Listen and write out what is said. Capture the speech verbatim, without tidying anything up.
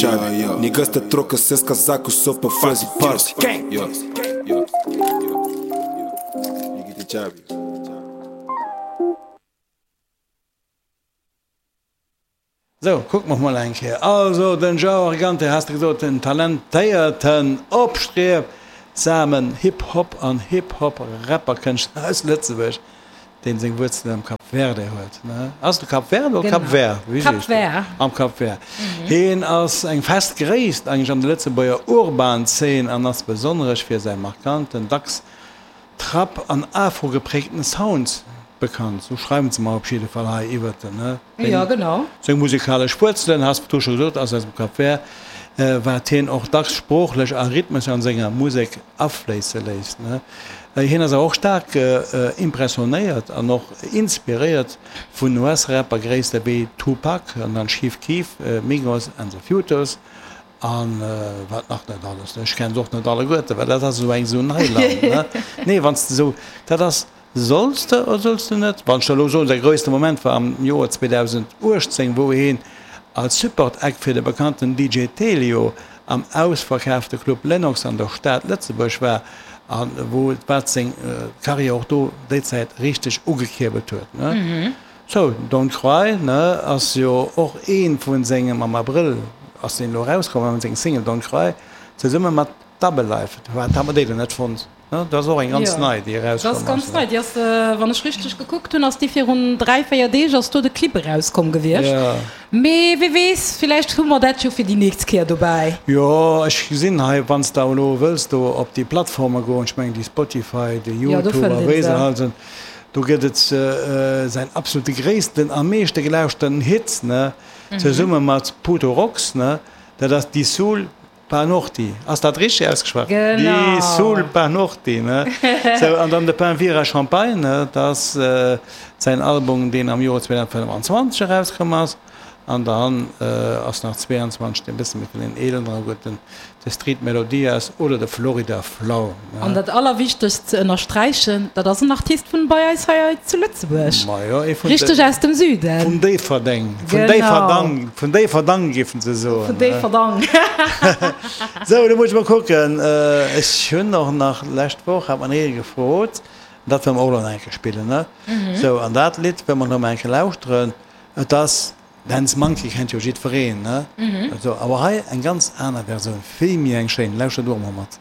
Chubby. Niggas te troca seus casacos só pra fazer party. Yeah, yeah, yeah. You get the chubby. Sou, kucke mer mol eng Kéier. Also, den Joe Argante, has de gesot, den talentéierten, opstriebsamen Hip-Hop an Hip-Hop-Rapper-Kënschtler aus Lëtzebuerg, deen seng Wuerzelen am Cap Verde huet, ne? Ass et Cap Verde oder Cap Vert? Wéi Cap sees du? Vert. Am Cap Vert. Hien ass eng fest Gréisst eigentlech an der Lëtzebuerger Urban-Zeen an ass besonneresch fir säi markanten, dacks Trap an Afro-geprägten Sound bekannt, sou schreiwen se mer op jidde Fall hei iwwert en, ne? Jo, genau. Seng musikalesch Wuerzelen, has du scho gesot, ass aus dem Cap Vert, wat hien och dacks sproochlech a rhythmesch an senger Musek afléisse léisst, ne? Hien ass awer och staark impressionéiert an och inspiréiert vun US-Rapper-Gréisste wéi Tupac an dann Chief Keef, Migos and the Futures. An wat nach net alles, ech kennen se och net alleguerten, well dat ass esou eng esou Neiland, ne? Nee, wann s de esou, dat ass, solls de oder solls de net? Wann ech der elo soen, säi grouesste Moment war am Joer zweedausenduechtzéng, wou hien als Support-Act fir de bekannten D J Telio am ausverkaafte Club Lenox an der Stad Lëtzebuerg war a wou wat seng Karriär och do déi Zäit richteg ugekierbelt huet, ne? Sou, Don't Cry, ne, ass jo och ee vu sengem, am Abrëll ass deen elo erauskomm, seng Single Don't Cry, zesumme mat Double Life. Wat hat mer déi denn net fonnt, ne? Dat ass och eng ganz Jo, nei, déi dat ass erauskomm ass, ganz ne? nei. Déi ass, wann ech richteg gekuckt hunn, ass déi virun dräi, véier Deeg ass do de Clip erauskomm gewiescht. Jo. Mee wie weess, villäicht hu mer dat jo fir déi nächst Kéier dobäi. Jo, ech gesinn hei, wann s de elo wëlls do op déi Plattforme goen, ech mengen déi Spotify, déi Jo, do YouTube fënnt a een wéi se se. all sinn, Do gëtt et säin absolute gréissten a meeschte gelauschten Hit, ne, zesumme mat Puto Rox, ne, dat ass Di Sul Pa Norti. Ass dat richteg ausgeschwat? Di Sul Genau. Pa Norti, ne? Sou, an dann de Pain Vira Champagne, ne, dat ass säin Album, deen am Joer zweedausenfënnefanzwanzeg erauskomm ass. An dann ass nach zweeanzwanzeg deen e bësse méi vun den eeleren, gutt, den de Street Melodias oder de Florida Flow. An dat Allerwichtegst ze ënnersträichen, dat ass en Artist vun bei eis hei zu Lëtzebuerg, Majo, ee vun richteg de aus dem Süden. Vun Déifferdeng, vun Genau. Déifferdang, vun Déifferdang géifen se soen, Vun ne? Déifferdang. Sou, lo muss ech mol kucken, ech hunn och nach, lescht Woch hat mer ee gefrot, dat wëlle mer och elo nach eng Kéier spillen, ne? Sou, an dat Lidd wëlle mer elo mol eng Kéier lauschteren. Et ass Dance Monkey kennt jo jiddwereen, ne? Sou, awer hei eng ganz aner Versioun, vill méi eng schéin. Lauschtert och emol mat.